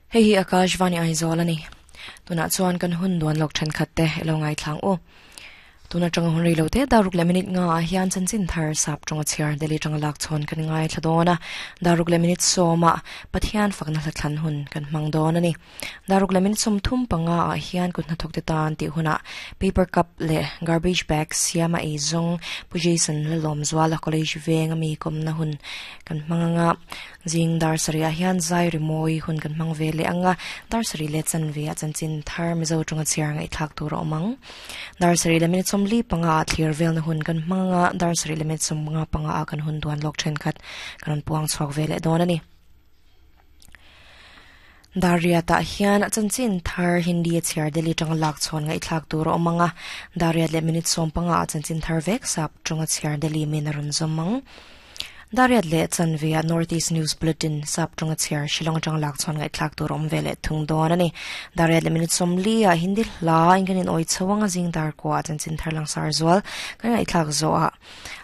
Hei hi Akashvani Aizawl a ni. Tunah chuan kan hun duan lawk thenkhat te i lo ngaithlang u. Tun atanga hun rei lo te daruk leh minute nga ah hian chanchin thar sap tawnga chhiar Delhi tanga lak chhawn kan ngaithla dawn a. Daruk leh minute sawmah Pathian fakna hla thlan hun kan hmang dawn a ni. Daruk leh minute 35 ah hian kut hnathawk te tan tih hunah paper cup leh garbage bag siama ei zawng Pu Jason Lalawmzuala College veng ami kawmna hun kan hmang anga Zing dar sarih ah hian zai rimawi hun kan hmang ve leh ang a, dar sarih leh chanve ah chanchin thar Mizo tawnga chhiar ngaihthlak tur a awm ang. Dar sarih leh minute 45 ah thlir velna hun kan hmang ang a, dar sarih leh minute 55 ah kan hun duan lawk thenkhat kan rawn puang chhuak ve leh dawn a ni. Dar riat ah hian chanchin thar Hindi a chhiar Delhi tanga lak chhawn ngaihthlak tur a awm ang a, dar riat leh minute 15 ah chanchin thar vek sap tawnga chhiar Delhi min a rawn zawm ang. Dariat leh chanve ah North East News Bulletin sap tawnga chhiar Shillong atanga lak chhuan ngaihthlak tur a awm ve leh thung dawn a ni. Dariat leh minute 40 ah Hindi hla in kan in awi chho ang a zing dar kua ah chanchin thar langsar zual kan ngaihthlak zawh ah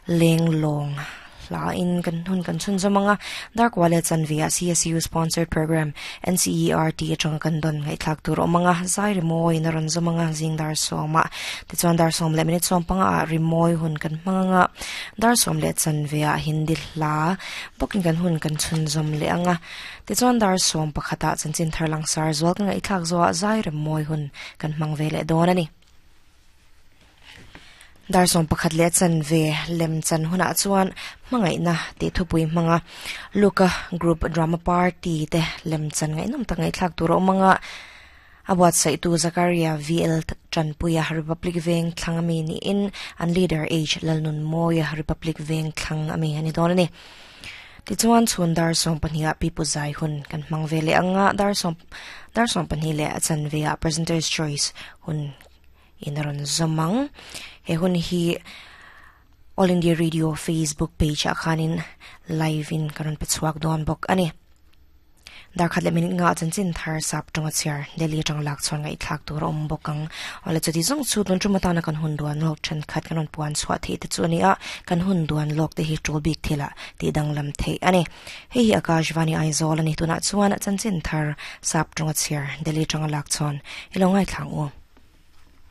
leng lawng hla in kan hun kan chhun zawm ang a dar kua leh chanve ah CSU sponsored program NCERT atanga kan dawn ngaihthlak tur a awm ang a zai rimawi in a rawn zawm ang a zing dar sawm ah tichuan dar sawm leh minute 15 ah rimawi hun kan hmang ang a Dar sawm leh chanve ah Hindi hla bawkin kan hun kan chhunzawm leh ang a, tichuan dar sawm pakhatah chanchin thar langsar zual kan ngaihthlak zawhah zai rem mawi hun kan hmang ve leh dawn a ni. Dar sawm pakhat leh chanve lem chan hunah chuan hmangaihna tih thupui hmanga Luka Group Drama Party te lem chan ngaihnawm tak ngaihthlak tur a awm ang a, A buatsaihtu Zakaria VL Tanpuia Republic Veng thlang ami niin an leader H Lalnunmawia Republic Veng thlang ami a ni dawn a ni. Tichuan chhun dar 12 ah Pipu Zai hun kan hmang ve leh ang a, dar sawm dar 12 leh a chanve ah Presenter's Choice hun in a rawn zawm ang. He hun hi All India Radio Facebook page ah khanin live in ka rawn pe chhuak dawn bawk a ni. Darkhat leh minute nga chanchin thar sap tawnga chhiar Delhi atang lak chhuan ngaihthlak tur a awm bawk ang. Awle chuti zawng chu tun tum atana kan hun duan lawk thenkhat kan rawn puan chhuah theih te chu a ni a, kan hun duan lawk te hi tul bik thilah tih danglam theih a ni. Hei hi Akashvani Aizawl a ni tunah chuan chanchin thar sap tawnga chhiar Delhi atanga lak chhuan i lo ngaithla ang u.